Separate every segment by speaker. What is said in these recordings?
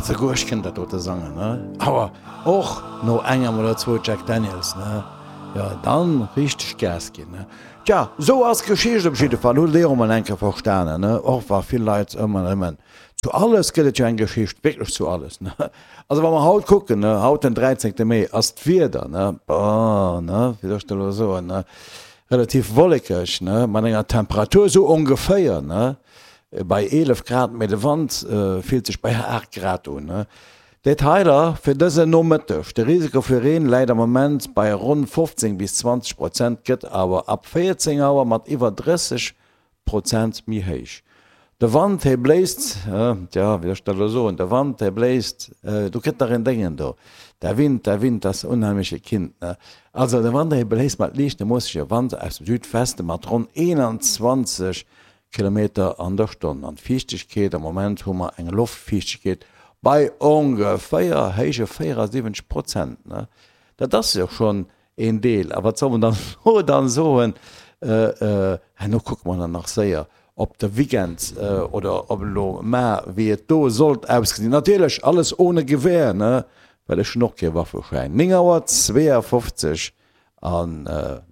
Speaker 1: Souguer ech kënnt dat dote sangen, ne? Awer och no engem oder zwou Jack Daniels, ne? Jo, dann richteg Gas ginn, ne? Tja, sou ass d'Geschicht op jidde Fall. Hutt Dir och mol eng Kéier verstanen, ne? Och wa vill Leit ëmmer nëmmen, zu alles gëtt et jo eng Geschicht, wierklech zu alles, ne? Also wa mer haut kucken, ne, haut den 13. Mee, ass d'Wieder, ne, boah, ne, wéi soll ech dat elo soen, ne, relativ wollekeg, ne, mat enger Temperatur sou ongeféier, ne, bei 11 Grad, mee de Wand fillt sech bei 8 Grad un, ne. Detailer fir dëse Nomëtteg, De Risiko fir Reen läit am Moment bei ronn 15 bis 20 Prozent, gëtt awer ab 14 Auer mat iwwer 30 Prozent méi héich. De Wand hee bléist, tja, wéi soll ech dat elo soen, de Wand hee bléist, do kritt nach een Déngen do, der Wind, der Wind, das unheimliche Kind, ne? Also de Wand hee bléist mat liichtem moossege Wand aus dem Südweste mat ronn 21 Kilometer an der Stonn. An d'Fiichtegkeet, am Moment hu mer eng Loftfiichtegkeet bei ongeféier héije 74 Prozent, ne? Dat ass jo schonn Een Deel. A wat soll mer dann elo dann soen? Herno kucke mer dann nach séier op de Weekend oder op elo mar, wéi et do sollt ausgesinn. Natierlech alles ohne Gewehr, ne, well ech hunn och kee Waffeschäin. 9 Auer 52 an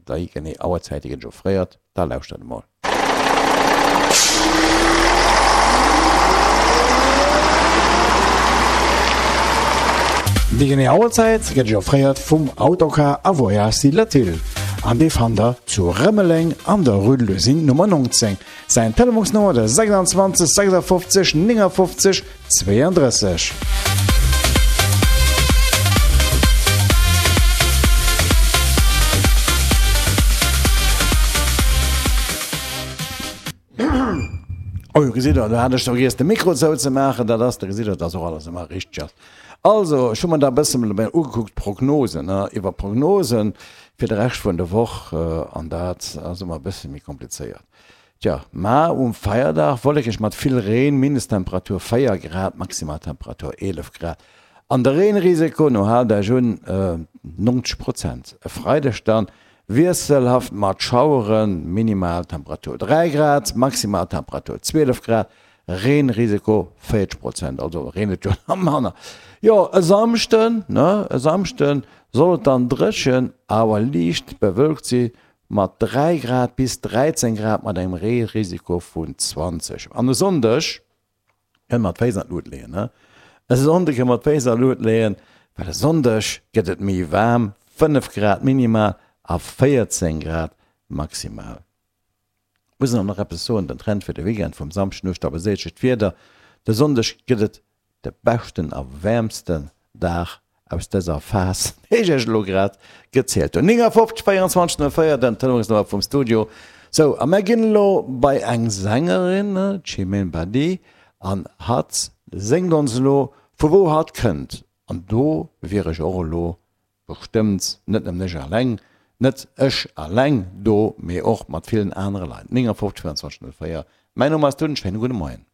Speaker 1: déi genee Auerzäit, déi gëtt ech offréiert. Da lauschtert emol. Déi genee Auerzäit gëtt Iech offréiert vum Autocar a Voyage Silatile an dee fannt der zu Rëmeleng an der Rue de l'Usine Nummer 19. Säin Telefonsnummer de 26 56 59 32. Oh, gesitt der, do hat ech vergiess de Mikro zouzemaachen. Dat ass, da gesitt der, dass och alles ëmmer richteg ass. Also, ech hu mer da e bësse ugekuckt, d'Prognosen, ne, iwwer Prognosen fir de Rescht vun der Woch, an dat ass ëmmer e bësse méi komplizéiert. Tja, mar um Feierdag wollekeg mat vill Reen, Mindesttemperatur 4 Grad, Maximaltemperatur 11 Grad an de Reenrisiko, no haalt Iech un, 90 Prozent. E Freideg dann wiesselhaft mat Schaueren, Minimaltemperatur 3 Grad, Maximaltemperatur 12 Grad, Reenrisiko 40 Prozent, also reent et jo nach manner. Jo, e Samschden, ne, e Samschden soll et dann dréchen, awer liicht bewölkt si Mat 3 Grad bis 13 Grad mat engem Reerisiko vun 20. An e Sonndeg kënne mer d'Féiss an d'Lut leeën, ne? E Sonnde kënne mer d'Féiss an d'Lut leeën, well e Sonndeg gëtt et méi waarm, 5 Grad minimal a 14 Grad maximal. Muss een och nach eppes soen, den Trend fir de Weekend vum Samschden u stabiliséiert sech d'Wieder, de Sonndeg gëtt et de beschten a wäermsten Dag aus dëser Phas, déi ech iech elo grad gezielt hunn. 59 24 04, den Telefonsnummer vum Studio. Sou, a mär ginn elo bei eng Sängerin, d'Chimène Badi, an hatt séngt ons elo, vu wou hatt kënnt. An do wier ech och elo bestëmmt net nëmmen ech alleng, net ech alleng do, mee och mat villen anere Leit. 59 24 04, mäin Numm ass Dunn, schéine gudde Moien.